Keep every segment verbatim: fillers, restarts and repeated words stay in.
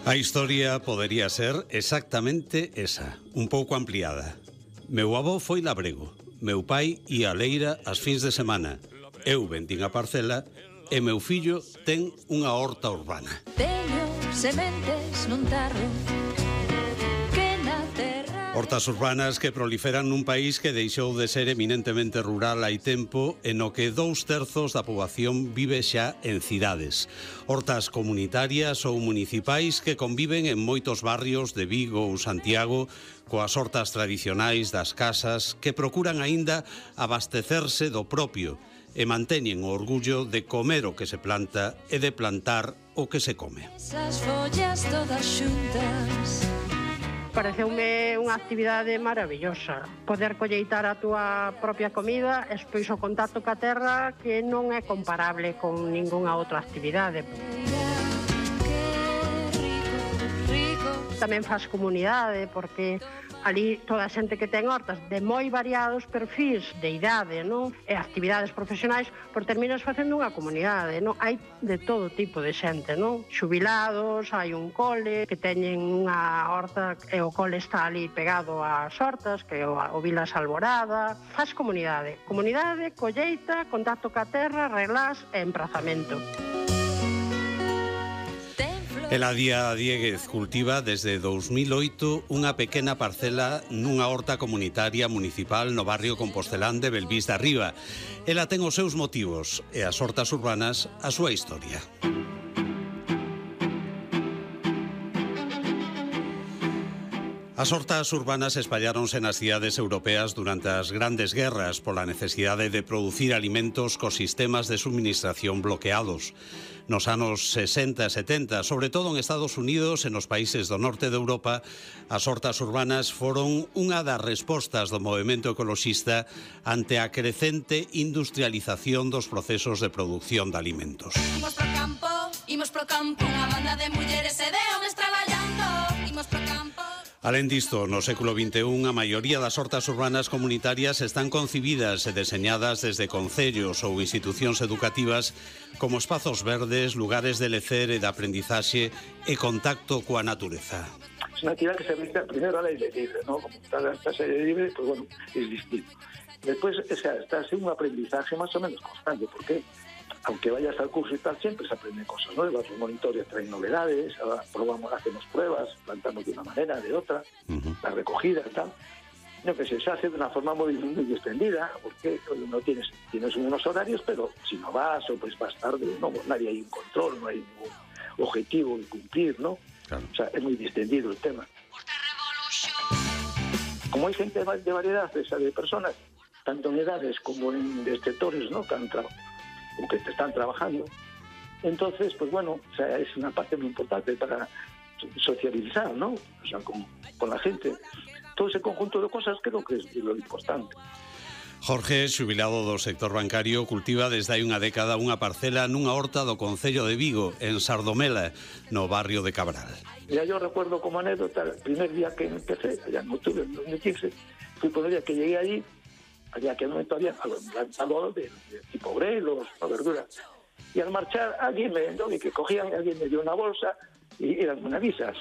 A historia podería ser exactamente esa, un pouco ampliada. Meu avó foi labrego, meu pai ia a leira as fins de semana, eu vendín a parcela e meu fillo ten unha horta urbana. Teño sementes nun tarro que na terra... Hortas urbanas que proliferan nun país que deixou de ser eminentemente rural hai tempo e no que dous terzos da poboación vive xa en cidades. Hortas comunitarias ou municipais que conviven en moitos barrios de Vigo ou Santiago coas hortas tradicionais das casas que procuran aínda abastecerse do propio e manteñen o orgullo de comer o que se planta e de plantar o que se come. Esas follas todas xuntas. Pareceume unha actividade maravillosa. Poder colleitar a túa propia comida e despois o contacto ca terra que non é comparable con ningunha outra actividade. Tamén faz comunidade porque ali toda a xente que ten hortas de moi variados perfis de idade, non? E actividades profesionais, por terminas facendo unha comunidade, non? Hai de todo tipo de xente, non? Xubilados, hai un cole que teñen unha horta e o cole está ali pegado ás hortas, que é o, o Vilas Alborada. Faz comunidade, comunidade, colleita, contacto ca terra, relás e emprazamento. Eladia Dieguez cultiva desde dous mil oito unha pequena parcela nunha horta comunitaria municipal no barrio compostelán de Belvís de Arriba. Ela ten os seus motivos e as hortas urbanas a súa historia. As hortas urbanas espalláronse nas cidades europeas durante as grandes guerras pola necesidade de producir alimentos cos sistemas de suministración bloqueados. Nos anos sesenta e setenta, sobre todo en Estados Unidos e nos países do norte de Europa, as hortas urbanas foron unha das respostas do movemento ecoloxista ante a crecente industrialización dos procesos de producción de alimentos. Imos pro campo, imos pro campo, unha banda de mulleres e de homes traballando, imos pro campo. Alén disto, no século vinte e un, a maioría das hortas urbanas comunitarias están concibidas e deseñadas desde concellos ou institucións educativas como espazos verdes, lugares de lecer e de aprendizaxe e contacto coa natureza. Es una actividad que se realiza primero al aire libre, ¿no? Como está al aire libre, pues bueno, es distinto. Después, o sea, está así un aprendizaje más o menos constante, porque aunque vayas al curso y tal, siempre se aprenden cosas nuevas, los monitores traen novedades, ahora probamos, hacemos pruebas, plantamos de una manera, de otra, uh-huh. La recogida y tal. No, que se hace de una forma muy, muy extendida, porque no tienes, tienes unos horarios, pero si no vas o pues vas tarde, no, nadie hay un control, no hay ningún objetivo que cumplir, ¿no? Claro. O sea, es muy distendido el tema. Como hay gente de variedad, de personas, tanto en edades como en sectores, ¿no?, que han trabajado, o que están trabajando. Entonces, pues bueno, o sea, es una parte muy importante para socializar, ¿no? O sea, con, con la gente. Todo ese conjunto de cosas creo que es lo importante. Jorge, xubilado do sector bancario, cultiva desde hai unha década unha parcela nunha horta do concello de Vigo, en Sardomela, no barrio de Cabral. Ya yo recuerdo como anécdota, el primer día que empecé, allá en octubre de dos mil quince, fui por el día que llegué allí, allá que no todavía plantado de, de tipo grelos, o verduras. Y al marchar, alguien me ¿no? y que cogían, alguien me dio una bolsa y eran unas visas,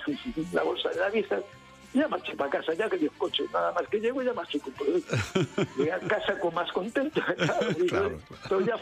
la bolsa de las visas. Ya marché para casa, ya que dio coche, nada más que llego ya marché con producto. Llegué a casa con más contento, claro, claro, claro. Pero ya